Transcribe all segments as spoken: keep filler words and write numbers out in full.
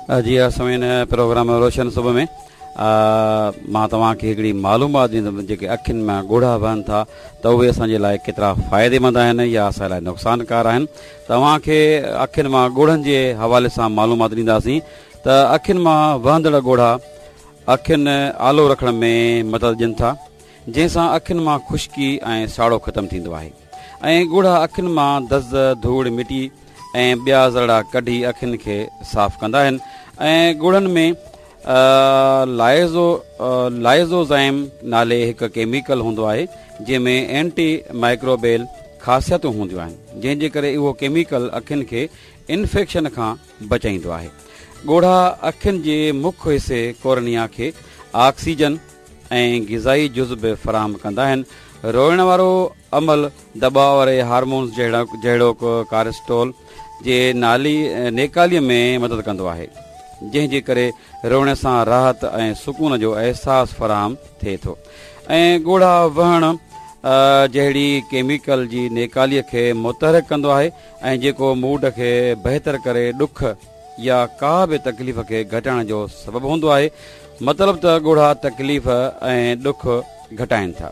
جي ها سامعين، پروگرام روشن صبح ۾ مان توهان کي هڪڙي معلومات ڏيندم، جيڪي اکين مان ڳوڙها وهن ٿا ته اهي اسان جي لاء ڪيترا فائديمند آهن يا اسان لاء نقصانڪار آهن. توهان کي اکين مان ڳوڙهن جي حوالي سان معلومات ڏينداسين ته اکين مان وهندڙ ڳوڙها اکين آلو رکڻ ۾ مدد ڏين ٿا، جنهن سان اکين مان خشڪي ۽ ساڙو ختم ٿيندو آهي ۽ ڳوڙها اکين مان دز، ڌوڙ، مٽي ۽ ٻيا ذرڙا ڪڍي اکين کي صاف ڪندا آهن. ۽ ڳوڙهن ۾ لائزو لائزوزائم نالي هڪ ڪيميڪل هوندو آهي، جنهن ۾ اينٽي مائڪروبيل خاصيتون هونديون آهن، جنهن جي ڪري اهو ڪيميڪل اکين کي انفيڪشن کان بچائيندو آهي. ڳوڙها اکين جي مک حصي ڪورنيا کي آڪسيجن ۽ غذائي جز به فراهم ڪندا آهن. روئڻ وارو عمل دٻاء واري هارمونز جهڙوڪ ڪارسٽول جي نالي نيڪالي ۾ مدد ڪندو آهي، جنهن جي ڪري روئڻ سان راحت ۽ سڪون جو احساس فراهم ٿئي ٿو ۽ ڳوڙها وهڻ جهڙي ڪيميڪل جي نيڪالي کي متحرڪ ڪندو آهي ۽ جيڪو موڊ کي بهتر ڪري ڏک يا ڪا به تڪليف کي گهٽائڻ جو سبب هوندو آهي. مطلب ته ڳوڙها تڪليف ۽ ڏک گهٽائن ٿا.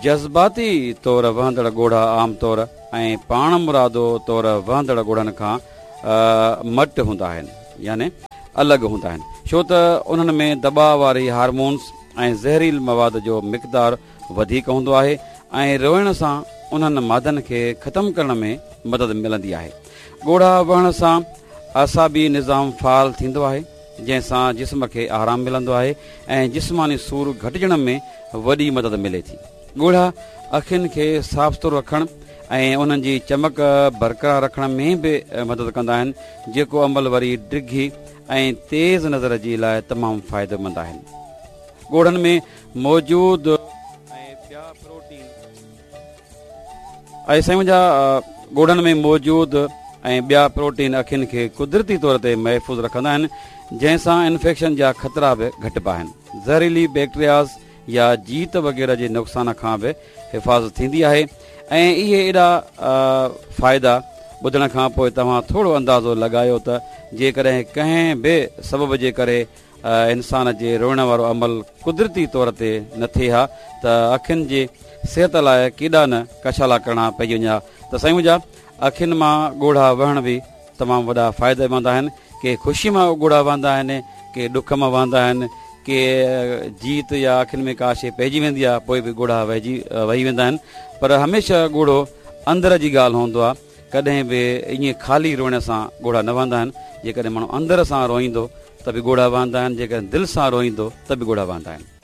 جذباتي طور وهندڙ ڳوڙها عام طور ۽ پاڻمرادو طور وهندڙ ڳوڙهن کان مٽ هوندا آهن، يعني الڳ هوندا آهن، ڇو ته انهن ۾ دٻاء واري هارمونز ۽ زهريل مواد جو مقدار وڌيڪ هوندو آهي ۽ روئڻ سان انهن مادن کي ختم ڪرڻ ۾ مدد ملندي آهي. ڳوڙها وهڻ سان اعصابي نظام فعال ٿيندو آهي، جنهن سان جسم کي آرام ملندو آهي ۽ جسماني سور گهٽجڻ ۾ وڏي مدد ملي ٿي. ڳوڙها اکين کي صاف سٿرو رکڻ ۽ انهن جي چمڪ برقرار رکڻ ۾ به مدد ڪندا آهن، جيڪو عمل وري ڊگهي ۽ تيز نظر جي لاء تمام فائديمند آهن. ڳوڙهن ۾ موجود ۽ ٻيا پروٽين ۽ سائين منهنجا ڳوڙهن ۾ موجود ۽ ٻيا پروٽين اکين کي قدرتي طور تي محفوظ رکندا آهن، جنهن سان انفيڪشن جا خطرا به گهٽبا آهن. زهريلي بيڪٽرياز يا جيت وغيره جي نقصان کان به حفاظت ٿيندي آهي. ۽ اهي ايڏا فائدا ٻڌڻ کان پوء توهان ٿورو اندازو لڳايو ته جيڪڏهن ڪنهن به سبب جي ڪري انسان جي روئڻ وارو عمل قدرتي طور تي نه ٿئي ها ته اکين جي صحت لاء ڪيڏا نه ڪشالا ڪرڻا پئجي وڃن ها. ته سائين منهنجا، اکين مان ڳوڙها وهڻ به تمام وڏا فائديمند آهن. ڪي خوشي مان ڳوڙها وهندا آهن، ڪي ڏک مان وهندا آهن، ڪي جيت يا اکين ۾ ڪا شيء پئجي ويندي آهي پوء به ڳوڙها وهجي وهي ويندا آهن. پر هميشه ڳوڙهو اندر جي ڳالهه هوندو آهي، ڪڏهن به ائين خالي روئڻ سان ڳوڙها نه وهندا آهن. جيڪڏهن ماڻهو اندر سان روئيندو ته به ڳوڙها وهندا آهن، جيڪڏهن دل سان روئيندو ته به ڳوڙها وهندا آهن.